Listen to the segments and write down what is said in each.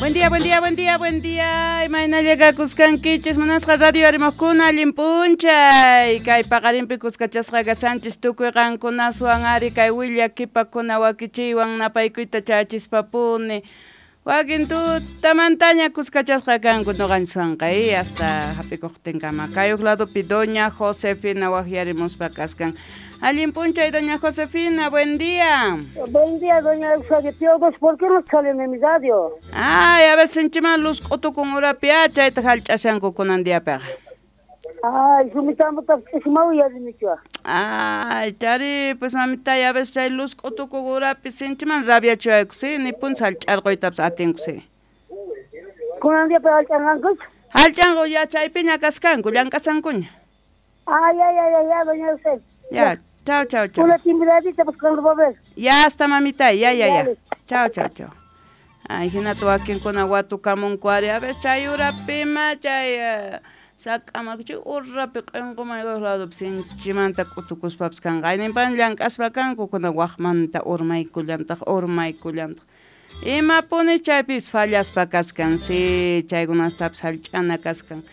Buen día, buen día, buen día, buen día. Imaynalla kakuskankichis munasqa radio arimojkuna allin p'unchay. Kay paqarinpi kuskachasqa kashanchis tukuy qankunaswan ari kay willakipakuna wakichiywan napaykuyta chachispapuni. Wakin tutamantaña kuskachasqa kanku noqanchiswanqa hasta hap'ikuqtinkama. Kay huk ladopi doña Josefina waqyarimuspa kaskan. Allin p'unchay doña Josefina, buen día. Buen día, doña Eusebio. Tío, ¿por qué no salen en mi radio? Ay, a veces sinchiman luz k'utukun urapi chayta hallch'ashanku kunan diapiqa. Ay, sumitamutaq ch'ismaw yarinichua. Ay, chari, pues mamitay, a veces chay luz k'utukun urapi sinchiman rabiachiwayku, sí, nipun hallch'arquytapas atinku, sí. Kunan diapi hallch'anqankuchu? Hallch'anku ya chaypiña kaskanku, llank'ashankuña. Ay, ay, ay, ay, ya, doña Eusebio. Ya, chao, chao, chao. Una timbradita, pues cuando va a ver. Ya hasta mamita, ya, ya, ya. Chao, chao, chao. Ay, hinata wakinkuna watukamunku ari, a veces chay urapima, chay sak'amak chay urapi q'inquman waq ladopi sinchimanta k'utukuspapas kanqa. Ayninpan llank'aspa kanku kuna waqmanta urmaykullantaq, urmaykullantaq. Imapuni chaypis fallaspa kaskan, sí, chaykunastapis hallch'ana kaskan.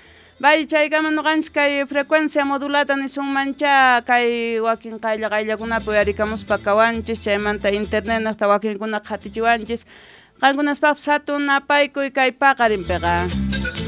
Bay chaykama noqanchis kay frecuencia modulada nisunmancha kay wakin qaylla qayllakunapi uyarikamuspa kawanchis, chaymanta internet naqta wakinkuna qhatichiwanchis. Qankunaspaqpas hatun napaykuy kay paqarinpiqa.